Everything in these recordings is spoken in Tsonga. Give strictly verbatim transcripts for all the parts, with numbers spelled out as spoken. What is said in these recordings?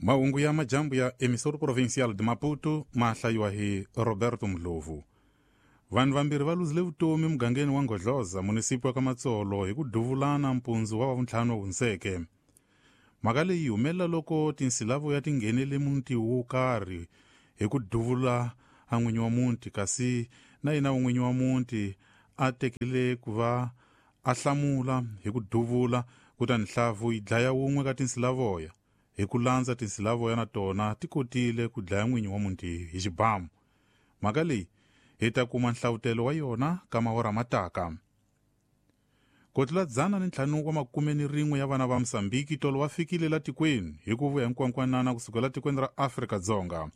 Mahungu ya majambu ya Emissora Provincial de Maputo ma hlayiwa hi Roberto Mdlovu. Vanhu vambirhi va luzile vutomi mugangeni wa Ngodloza, munisipi wa Kamatsolo, hi ku duvulana mpundzu wa vuntlhanu hundzeke. Mhaka leyi humelela loko tinsilavo ya ti nghenele muti wo karhi hi ku duvula a n'winyi wa muti, kasi na yena n'winyi wa muti a tekile ku va a hlamula hi ku duvula, kutani nhlavu yi dlaya wun'we ka tinsilavoya. Hi ku landza tinsilavoya na tona ti kotile ku dlaya n'winyi wa muti hi xibamu. Mhaka leyi hi ta kuma nhlavutelo wa yona ka mahora mataka. Ku tlula dzana ni ntlhanu wa makume ni rin'we ya vana va Mozambiki tolo va fikile la tikweni hi ku vuya hinkwankwanana kusuka la tikweni ra Afrika-Dzonga.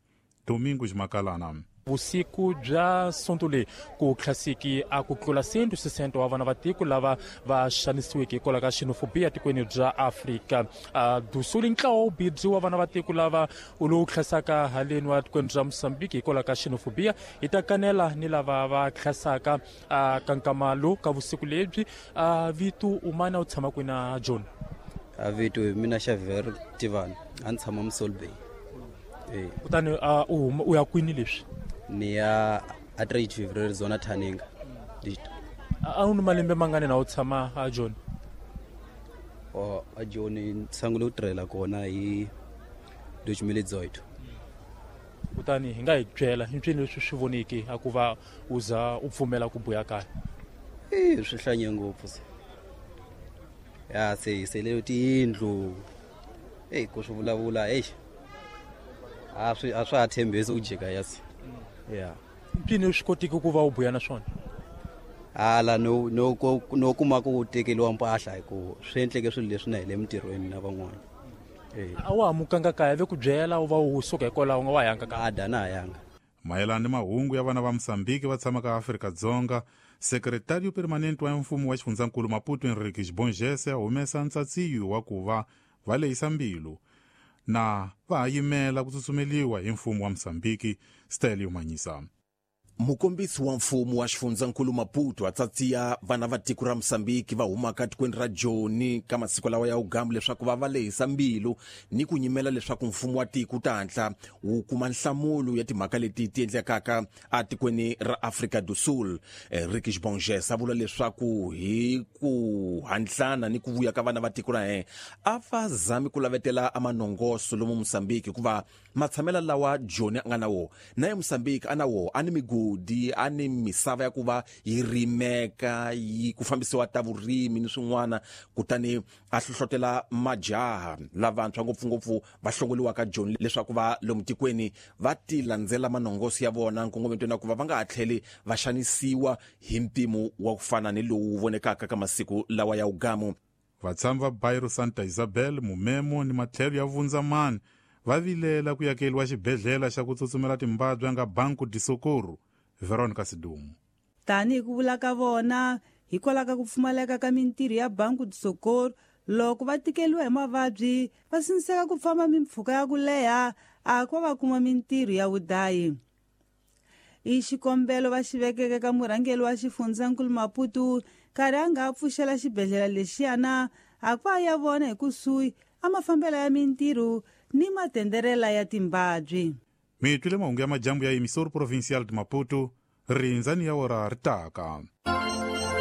Domingo Ximakalana. Vusiku bya sonto leyi ku tlhasiki a ku tlula cento sesenta wa vana va tiko lava va xanisiweke hikwalaho ka xenofobia tikweni bya Afrika do Sul. Ntlawa wu bidzi wa vana va tiko lava lowu tlhasaka haleni wa tikweni bya Mozambique hikwalaho ka xenofobia hi ta kanela ni lava va tlhasaka ka nkama lowu ka vusiku lebyi. Vito umana u tshama kwini na John? A vito mina Xavier Tivani, a ni tshama Mossel Bay. Kutani u u ya kwini leswi? Ni ya a trade February zona Thaninga. A wu ni malembe mangani na u tshama a John? O a John ni sungule ku tirhela kona hi dois mil e dezoito. Kutani hi nga hi byela hi mpfini leswi swi voneke a ku va u za u pfumela ku buya kaya? Eh swi hlanye ngopfu se. Ya se se leyo tiyindlu. Eh ku swi vulavula eish. A swi a swa ha tshembisi ku jika yasi. Yeah. Mpfini swi kotiki ku va u buya na swona? Hala no no no kuma ku tekeriwa mpahla hi ku swi endleke swilo leswi na hi le mintirhweni na van'wana. Eh. A wa hamukanga kaya ve ku byela u va u suka hikwalaho u nga wa yanga kaya? A da na yanga. Mayelana ni mahungu ya vana va Mozambique va tshamaka Afrika-Dzonga, Secretario Permanente wa mfumo wa xifundzankulu Maputo Henrique Xibongese a humesa ntsatsiyo wa ku va va lehisa mbilu na va ha yimela ku tsutsumeliwa hi mfumo wa Mozambique. Stelio Manyisa. Mukombisi wa mfumo wa xifundzankulu Maputo a tsatsiya vana va tiko ra Mozambique va humaka tikweni ra Joni ka masiku lawa ya ugamu leswaku va va lehisa mbilu ni ku nyimela leswaku mfumo wa tiko ta hatla wu kuma nhlamulo ya timhaka leti ti endlekaka atikweni ra Afrika do Sul. Henrique Xibongese a vula leswaku hi ku hantlana ni ku vuya ka vana va tiko ra yena a va zami ku lavetela amanongoso lomu Mozambique hikuva matshamela lawa Joni a nga na wo na ye Mozambique a na wo a ni migodi a ni misava ya ku va yi rimeka yi ku fambisiwa ta vurimi ni swin'wana, kutani a hlohlotela majaha lavantshwa ngopfungopfu va hlongoliwaka Joni leswaku va lomu tikweni va ti landzela manongoso ya vona nkongometweni wa ku va va nga ha tlheli va xanisiwa hi mpimo wa ku fana ni lowu vonekaka ka masiku lawa ya ugamu. Vatshami va Bairro Santa Isabel, Mumemo ni matlhelo ya Vundzamani va vilela ku yakeliwa xibedhlele xa ku tsutsumela timbabya nga Banco de Socorro. Veronica Sidumo. Tanihi ku vula ka vona hikwalaho ka ku pfumaleka ka mintirho ya Banco de Socorro, loko va tikeliwa hi mavabyi va sindziseka ku famba mimpfhuka ya ku leha a ku va va kuma mintirho ya vudayi. I xikombelo va xi vekeke ka murhangeri wa xifundzankulu Maputo nkarhi a nga pfuxela xibedhlele lexiyana a ku a ya vona hi kusuhi a mafambelo ya mintirho ni matenderela ya timbabyi. Mi twile mahungu ya majambu ya Emissora Provincial de Maputo, rindzani ya ora ri taka.